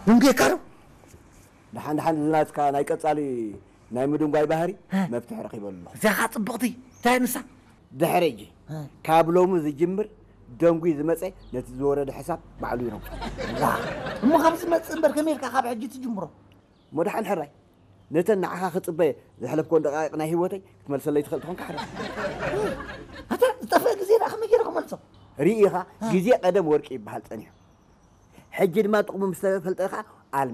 ደንጉየካ ዶ? ደሓን ደሓን፣ እዚ ናትካ ናይ ቀጻሊ ናይ ምድንጓይ ባህሪ መፍትሒ ረኺበሉ ኣለኹ። እዚኣ ኸዓ ጽብቕቲ። እንታይ ንሳ? ድሕሪ ሕጂ ካብ ሎሚ ዝጅምር ደንጉይ ዝመጸ ነቲ ዝወረደ ሕሳብ ባዕሉ ይረግጾ። እሞ ካብ ዝመጽእ እምበር ከመይ ኢልካ ካብ ሕጂ ትጅምሮ? እሞ ደሓን ሕራይ ነተን ንዓኻ ክጽበየ ዘሕለፍኮን ደቃይቕ ናይ ህይወተይ ክትመልሰለይ ትኽእል ትኾንካ ሕራይ። ኣታ ዝጠፍአ ግዜ ደኣ ከመይ ገይረ ክመልሶ? ርኢኻ ግዜ ቀደም ወርቂ ይበሃል ጸኒሑ። ሕጂ ድማ ጥቕሙ ምስ ተፈልጠ ኸዓ